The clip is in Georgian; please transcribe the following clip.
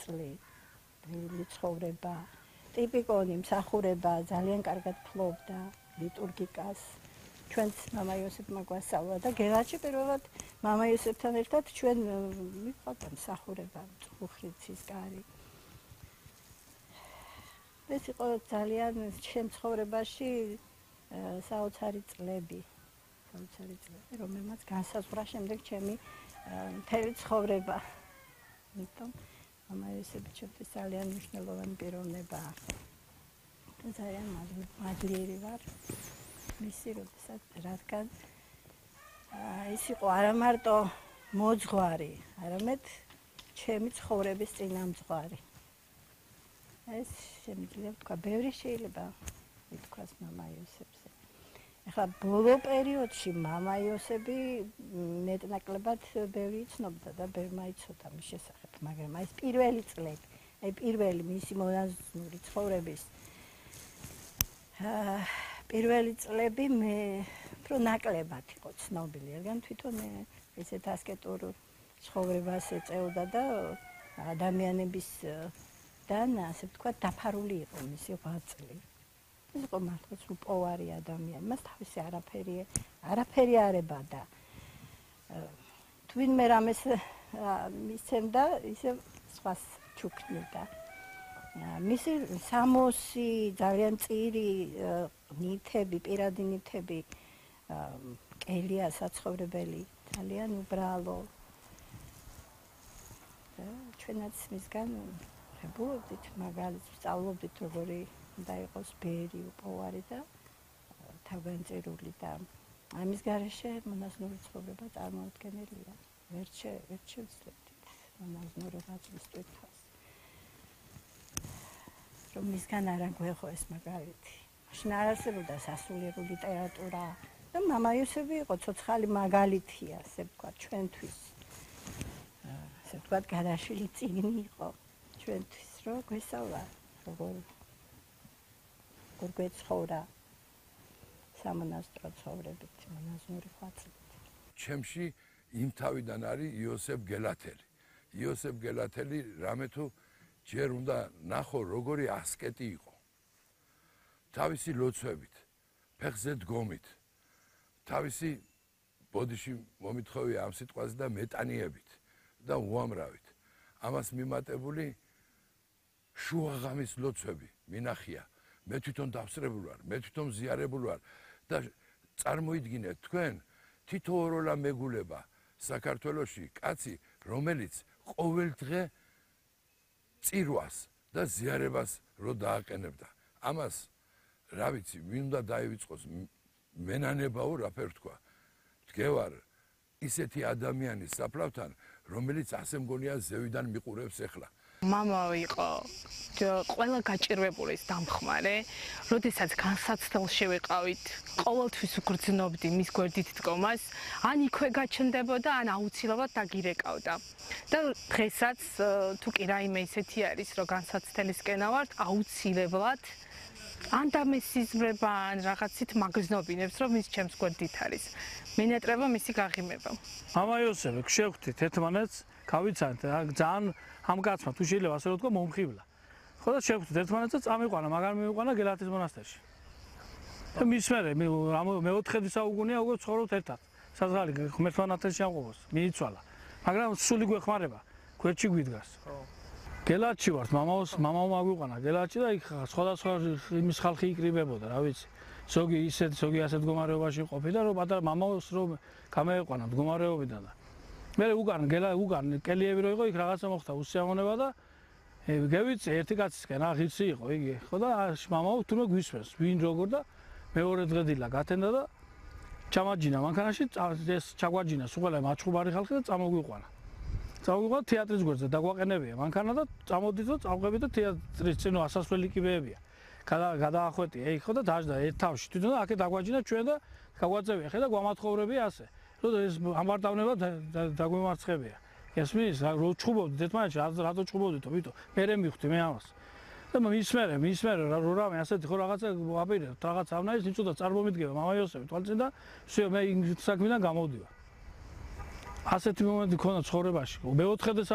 ღვაწლი, ცხოვრება, ტიპიკონი მსახურება, ძალიან კარგად ფლობდა ლიტურგიკას. ჩვენს მამა იოსებმა გვასწავლა და გელათში პირველად მამა იოსებთან ერთად ჩვენ მივყავდა მსახურება, მწუხრიცის კარი. ეს იყო ძალიან ჩემ ცხოვრებაში საოცარი წლები, რომელმაც განსაზღვრა შემდეგ ჩემი მთელი ცხოვრება. იმიტომ მამა იოსები ჩემთვის ძალიან მნიშვნელოვანი პიროვნება. ძალიან მადლიერი ვარ მისი, რადგან ის იყო არა მარტო მოძღვარი, არამედ ჩემი ცხოვრების წინამძღვარი. ეს შემიძლია ვთქვა, ბევრი შეიძლება ითქვას მამა იოსებზე. ეხლა ბოლო პერიოდში მამა იოსები მეტნაკლებად ბევრი იცნობდა და ბევრმა იცოდა მის შესახებ, მაგრამ ეს პირველი წლები, პირველი მისი მონაზვნური ცხოვრების პირველი წლები მე უფრო ნაკლებად იყო ცნობილი, რადგან თვითონ ესეთ ასკეტურ ცხოვრებას ეწეოდა და ადამიანებისგან, ასე ვთქვათ, დაფარული იყო მისი ღვაწლი. ის იყო მართლაც უპოვარი ადამიანი, მას თავისი არაფერი არ ებადა. თვინმე რამეს მისცემდა, ისე სხვას ჩუქნიდა. მისი სამოსი, ძალიან წირი ნივთები, პირადი ნივთები, კელია საცხოვრებელი, ძალიან უბრალო. ჩვენაც მისგან ვღებულობდით მაგალითს, ვსწავლობდით როგორი უნდა იყოს ბერი, უპოვარი და თავგანწირული და ამის გარეშე მონაზვნური ცხოვრება წარმოუდგენელია. ვერ შევძლებდით მონაზვნური ღვაწლის ტვირთვას. რომ მისგან არ აგვეღო ეს მაგალითი. მაშინ არ არსებობდა სასულიერო ლიტერატურა და მამა იოსები იყო ცოცხალი მაგალითია, ასე ვთქვათ, ჩვენთვის. ასე ვთქვათ, გადაშლილი წიგნი იყო ჩვენთვის, რომ გვესწავლა როგორ გვეცხოვრა სამონასტრო ცხოვრებით, მონაზვნური ღვაწლით. ჩემში იმ თავიდან არის იოსებ გელათელი. იოსებ გელათელი რამე თუ ჯერ უნდა ნახო როგორი ასკეტი იყო. თავისი ლოცვებით, ფეხზე დგომით, თავისი ბოდიში მომითხოვია ამ სიტყვაზე და მეტანიებით და უამრავით. ამას მიმატებული შუაღამის ლოცვები მინახია. მე თვითონ დავსრებული ვარ, მე თვითონ მზიარებული ვარ და წარმოიდგინეთ თქვენ თითოეულა მეგულება საქართველოში კაცი, რომელიც ყოველ დღე წირვას და ზიარებას რო დააყენებდა. ამას რა ვიცი, ვინ უნდა დაივიწყოს, მენანებაო რაფერ თქვა. დგევარ ისეთი ადამიანის საფლავთან, რომელიც ასე მგონია ზევიდან მიყურებს ახლა. მამა იყო ყველა გაჭირვებული დამხმარე, როდესაც განსაცდელში ვიყავით, ყოველთვის ვგრძნობდი მის გვერდით დგომას, ან იქვე გაჩნდებოდა, ან აუცილებლად დაგირეკავდა. და დღესაც თუ კი რაიმე ისეთი არის, რომ განსაცდელისკენ ავართ, აუცილებლად ან დამესიზმრება, ან რაღაცით მაგზნობინებს, რომ ის ჩემს გვერდით არის. მენატრება მისი გაღიმება. მამა იოსები, შევხვდით ერთმანეთს, გავიცანთ, ძალიან ამ კაცმა თუ შეიძლება ასე რომ თქვა მომხიბლა. ხო და შევხვდით ერთმანეთს და წამიყვანა, მაგარ მივიყვანა გელათის მონასტერში. და მის მერე მეოთხედი საუკუნეა უკვე ცხოვრობთ ერთად. საზღარი ღმერთმა ნათელში ამყოფოს, მიიცვალა. მაგრამ სული გვეხმარება, გვერდში გვიდგას. გელათში ვართ, მამაო მაგვიყვანა გელათში და იქ სხვადასხვა იმის ხალხი იკრიბებოდა, რა ვიცი. ზოგი ასეთ მდგომარეობაში ყოფიდა, რომ პატარა მამაოს რომ გამეეყვანა მდგომარეობიდან და მე უგან კელიები რო იყო, იქ რაღაცა მოხდა უსიამოვნება და გევიცე ერთი კაცისკენ, ღირსი იყო იგი, ხო და მამაო თურმე გვისმენს, ვინ როგორ და მეორე დღე დილა გათენდა და ჩამაჯინა მანქანაში, ეს ჩაგვაჯინა სულ მაჩხუბარი ხალხი და წამოგვიყვანა. წავიღოთ თეატრის გვერდზე დაგვაყენებია მანქანა და წამოდით და წავღებით და თეატრის წინო ასასვლელი კიბეებია. გადაახვეტია იქ ხო და დაждდა ერთ თავში თვითონ და აქეთ დაგვაჯინა ჩვენ და გაგვაწევია ხე და გვამათხოვრებია ასე. რომ ეს ამბარდავნება დაგვემარცხებია. ესმის რო ჩხუბობდით ერთმანეთში რატო ჩხუბობდითო ვიტო მერე მივხვდი მე ამას. და მის მერე რო რამე ასეთი ხო რაღაცა აპირებთ რაღაც ავნაის იწოდა წარმომიდგება მამა იოსები თვალწინ და всё მე იმ საქმიდან გამოვდივარ. ასეთი მომენტი ქონა ცხოვრებაში. მეოთხედი